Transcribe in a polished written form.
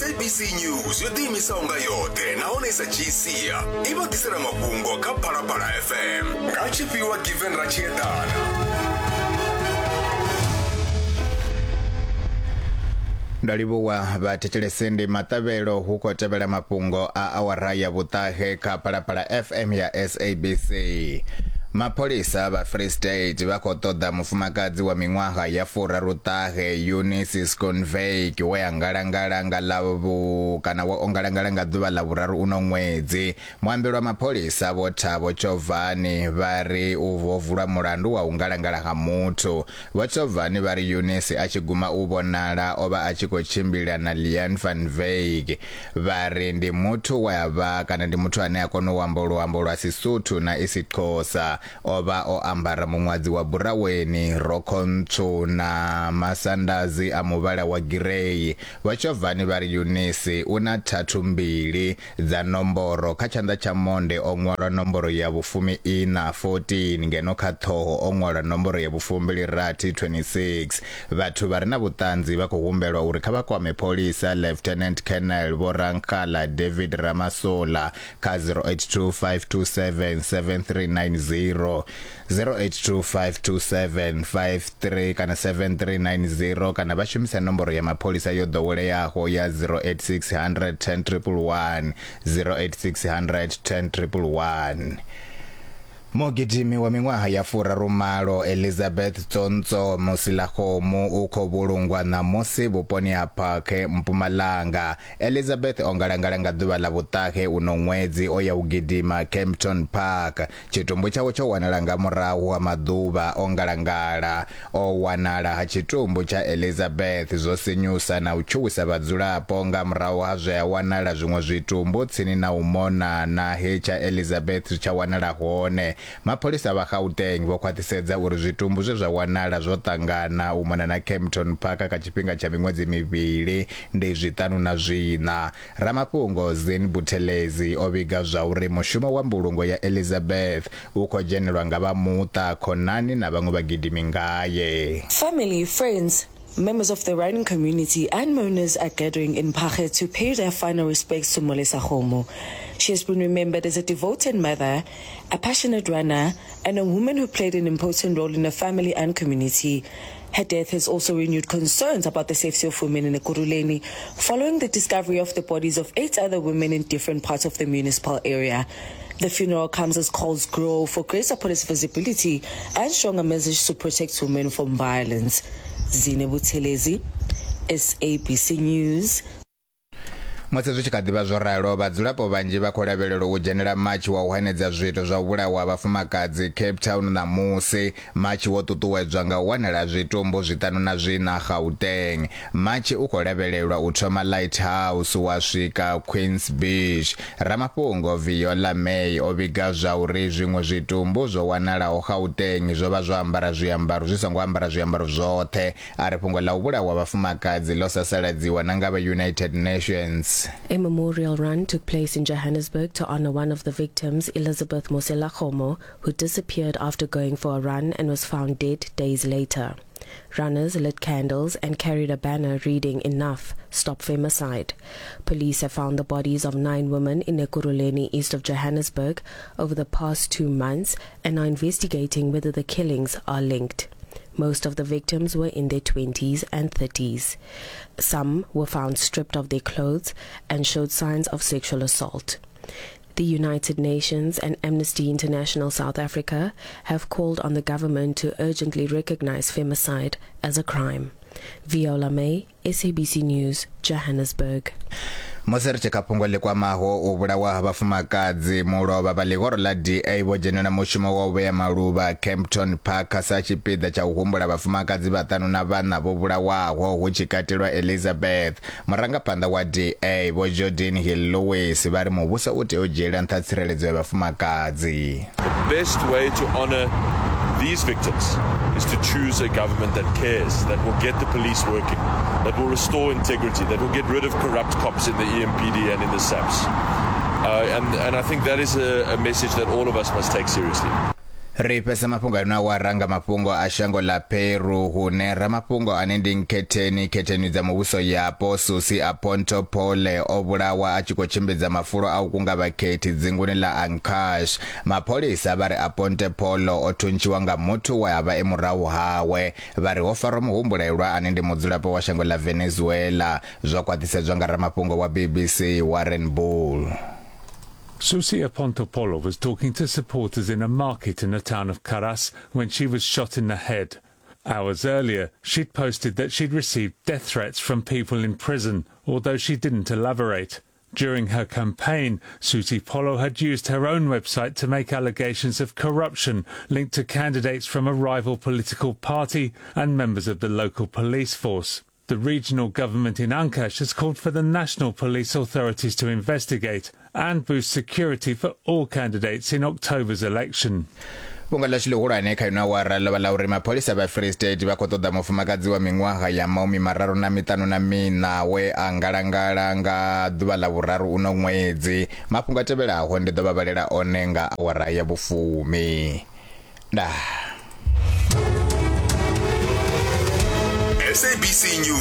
SABC News yo ḓiimisaho nga yoṱhe nahone i sa dzhii sia i vha ḓisela mafhungo kha Phalaphala FM nga tshifhiwa Given Ratshiedana. Ndo livhuwa vhathetshelesi ndi maṱavhelo hu khou tevhela mafhungo a awara ya vhuṱahe kha Phalaphala FM ya SABC. Mapholisa vha Free State vha khou ṱoḓa mufumakadzi wa miṅwaha ya furaruṱahe Eunice Schoonwijk we a ngalangala nga ḽa vhu kana we o ngalangala nga ḓuvha ḽa vhuraru uno ṅwedzi. Muambeli wa mapholisa Vho Thabo Tshovani vha ri u ho vulwa mulandu wa u ngalangala ha muthu. Vho Tshovani vha ri Eunice a tshi guma u vhonala o vha a tshi khou tshimbila na Leanne van Wyk. Vha ri ndi muthu we a vha kana ndi muthu ane a kona u amba luambo lwa Sesotho na isiXhosa. O vha o ambara muṅwadzi wa buraweni, rokho ntswu na masandazi a muvhala wa girei. Vho Tshovani vha ri Eunice u na thathu mbili dza nomboro, kha tshanḓa tsha monde o ṅwalwa nomboro ya vhufumi-iṋa, 14, ngeno kha ṱhoho o ṅwalwa nomboro ya vhufumbili-rathi, 26. Vhathu vha re na vhuṱanzi vha khou humbelwa uri kha vha kwame pholisa Lieutenant Colonel Vho Rankgala David Ramasola kha 0825277390, 08252753 kana 7390 kana vha shumise nomboro ya mapholisa yo ḓoweleaho ya 08600 10111, 08600 10111. Mugidimi wa miṅwaha ya furarumalo Elizabeth Tsontso Mosilakgomo u khou vhulungwa ṋamusi vhuponi ha Parke, Mpumalanga. Elizabeth o ngalangala nga ḓuvha ḽa vhuṱahe uno ṅwedzi o ya u gidima Kempton Park. Tshitumbu tshawe tsho wanala nga murahu ha maḓuvha o ngalangala. O wanala ha tshitumbu tsha Elizabeth zwo sinyusa na u tshuwisa vhadzulapo nga murahu ha zwe ha wanala zwiṅwe zwitumbu tsini na u mona na he tsha Elizabeth tsha wanala hone. Mapholisa vha Gauteng vho khwaṱhisedza uri zwitumbu zwe zwa wanala zwo ṱangana u mona na Kempton Park kha tshifhinga tsha miṅwedzi mivhili ndi zwiṱanu na zwiṋa. Ramafhungo Zin Buthelezi o vhiga zwauri mushumo wa mbulungo ya Elizabeth u khou dzhenelwa nga vha muṱa, khonani na vhaṅwe vhagidimi ngae. Family, friends, members of the running community and mourners are gathering in Phage to pay their final respects to Molesakgomo. She has been remembered as a devoted mother, a passionate runner, and a woman who played an important role in her family and community. Her death has also renewed concerns about the safety of women in Ekurhuleni following the discovery of the bodies of eight other women in different parts of the municipal area. The funeral comes as calls grow for greater police visibility and stronger measures to protect women from violence. Zine Buthelezi, SABC News. Musi zwi tshi kha ḓi vha zwo ralo, vhadzulapo vhanzhi vha khou lavhelelwa u dzhenela matshi wa u hanedza zwiito zwa u vhulawa ha vhafumakadzi Cape Town ṋamusi. Matshi wo ṱuṱuwedzwa nga u wanala ha zwitumbu zwiṱanu na zwiṋa Gauteng. Matshi u khou lavhelelwa u thoma Lighthouse wa swika Queens Beach. Ramafhungo Viola May o vhiga zwa uri zwiṅwe zwitumbu zwo wanalaho Gauteng zwo vha zwo ambara zwiambaro zwi songo ambara zwiambaro zwoṱhe. A ri fhungo ḽa u vhulawa vhafumakadzi ḽo sasaladziwa na nga vha United Nations. A memorial run took place in Johannesburg to honor one of the victims, Elizabeth Moselakgomo, who disappeared after going for a run and was found dead days later. Runners lit candles and carried a banner reading Enough, Stop Femicide. Police have found the bodies of nine women in Ekurhuleni east of Johannesburg over the past two months and are investigating whether the killings are linked. Most of the victims were in their 20s and 30s. Some were found stripped of their clothes and showed signs of sexual assault. The United Nations and Amnesty International South Africa have called on the government to urgently recognize femicide as a crime. Viola May, SABC News, Johannesburg. Musi ri tshi kha fhungo ḽi kwamaho u vhulawa ha vhafumakadzi, mulovha vha ḽihoro ḽa DA vho dzhenela mushumo wa u vhea maluvha Kempton Park sa tshipiḓa tsha u humbula vhafumakadzi vhaṱanu na vhaṋa vho vhulawaho hu tshi katelwa Elizabeth. Murangaphanḓa wa DA Vho Geordin Hill-Lewis vha ri muvhuso u tea u dzhiela nṱha tsireledzo ya vhafumakadzi. The best way to honor these victims is to choose a government that cares, that will get the police working, that will restore integrity, that will get rid of corrupt cops in the EMPD and in the SAPS. Uh, and, and I think that is a, a message that all of us must take seriously. Ri fhesa mafhungo ano awara nga mafhungo a shango ḽa Peru, hune ramafhungo ane ndi nkhetheni khetheni dza muvhuso yapo Susi Aponto Pole o vhulawa a tshi khou tshimbidza mafulo a u kunga vhakhethi dzinguni ḽa Ancash. Mapholisa vha ri Aponte Polo o thuntshiwa nga muthu we a vha e murahu hawe. Vha ri ho farwa muhumbulelwa ane ndi mudzulapo wa shango ḽa Venezuela. Zwo khwaṱhisedzwa nga ramafhungo wa BBC Warren Bull. Susi Apontopolo was talking to supporters in a market in the town of Caraz when she was shot in the head. Hours earlier, she'd posted that she'd received death threats from people in prison, although she didn't elaborate. During her campaign, Susi Polo had used her own website to make allegations of corruption linked to candidates from a rival political party and members of the local police force. The regional government in Ancash has called for the national police authorities to investigate and boost security for all candidates in October's election. Fhungo ḽashu ḽihulwane kha ino awara ḽo vha ḽa uri mapholisa vha Free State vha khou ṱoḓa mufumakadzi wa miṅwaha ya 34 we a ngalangala nga ḓuvha ḽa vhuraru uno ṅwedzi. Mafhungo a tevhelaho ndi ḓo vha vhalela one nga awara ya vhufumi. Ndaa. SABC News.